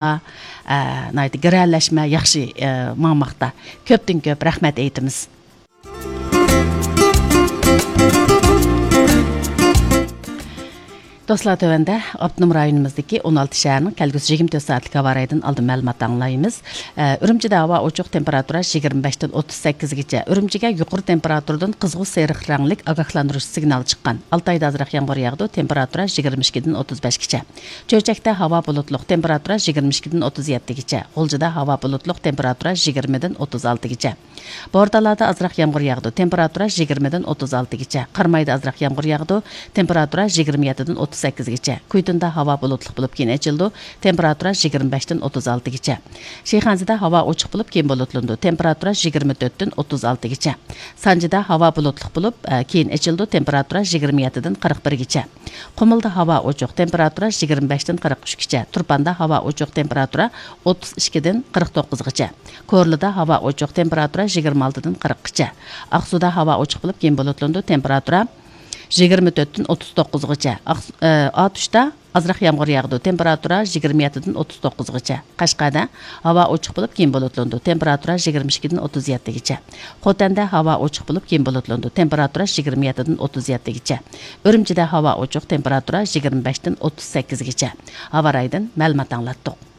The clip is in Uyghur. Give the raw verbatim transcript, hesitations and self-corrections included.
ئە، ناھايىتى گىرەلەشمە ياخشى، ئە، ماڭماقتا. كۆپتىن كۆپ رەھمەت ئېيتىمىز. دوستلار، تۆۋەندە ئاپتونوم رايونىمىزدىكى ئون ئالتە شەھەرنىڭ كەلگۈسى يىگىرمە تۆت سائەتلىك ھاۋا رايىدىن ئالدىن مەلۇمات ئاڭلايمىز. ئە، ئۈرۈمچىدە ھاۋا ئوچۇق، تېمپېراتۇرا يىگىرمە بەشتىن ئوتتۇز سەككىزگىچە. ئۈرۈمچىگە يۇقىرى تېمپېراتۇرىدىن قىزغۇ سېرىق رەڭلىك ئاگاھلاندۇرۇش سىگنالى چىققان. ئالتايدا ئازراق يامغۇر ياغىدۇ، تېمپېراتۇرا يىگىرمە ئىككىدىن ئوتتۇز بەشكىچە. چۆچەكتە ھاۋا بۇلۇتلۇق، تېمپېراتۇرا يىگىرمە ئىككىدىن ئوتتۇز يەتتىگىچە. غۇلجىدا ھاۋا بۇلۇتلۇق، تېمپېراتۇرا يىگىرمىدىن ئوتتۇز ئالتىگىچە. بورتالادا ئازراق يامغۇر ياغىدۇ، تېمپېراتۇرا يىگىرمىدىن ئوتتۇز ئالتىگىچە. قارامايدا ئازراق يامغۇر ياغىدۇ، تېمپېراتۇرا يىگىرمە يەتتىدىن ئوتتۇز سەككىزگىچە. كۇيتۇندا ھاۋا بۇلۇتلۇق بولۇپ، كېيىن ئېچىلىدۇ، تېمپېراتۇرا يىگىرمە بەشتىن ئوتتۇز ئالتىگىچە. شىخەنزىدە ھاۋا ئوچۇق بولۇپ، كېيىن بۇلۇتلىنىدۇ، تېمپېراتۇرا يىگىرمە تۆتتىن ئوتتۇز ئالتىگىچە. سانجىدا ھاۋا بۇلۇتلۇق بولۇپ، ئە، كېيىن ئېچىلىدۇ، تېمپېراتۇرا يىگىرمە يەتتىدىن قىرىق بىرگىچە. قۇمۇلدا ھاۋا ئوچۇق، تېمپېراتۇرا يىگىرمە بەشتىن قىرىق ئۈچكىچە. تۇرپاندا ھاۋا ئوچۇق، تېمپېراتۇرا ئوتتۇز ئىككىدىن قىرىق توققۇزغىچە. كورلىدا ھاۋا ئوچۇق، تېمپېراتۇرا يىگىرمە ئالتىدىن قىرىققىچە. ئاقسۇدا ھاۋا ئوچۇق بولۇپ، كېيىن بۇلۇتلىنىدۇ، تېمپېراتۇرا يىگىرمە تۆتتىن ئوتتۇز توققۇزغىچە. ئاقس-، ئە، ئاتۇشتا ئازراق يامغۇر ياغىدۇ، تېمپېراتۇرا يىگىرمە يەتتىدىن ئوتتۇز توققۇزغىچە. قەشقەردە ھاۋا ئوچۇق بولۇپ، كېيىن بۇلۇتلىنىدۇ، تېمپېراتۇرا يىگىرمە ئىككىدىن ئوتتۇز يەتتىگىچە. خوتەندە ھاۋا ئوچۇق بولۇپ، كېيىن بۇلۇتلىنىدۇ، تېمپېراتۇرا يىگىرمە يەتتىدىن ئوتتۇز يەتتىگىچە. ئۈرۈمچىدە ھاۋا ئوچۇق، تېمپېراتۇرا يىگىرمە بەشتىن ئوتتۇز سەككىزگىچە. ھاۋا رايىدىن مەلۇمات ئاڭلاتتۇق.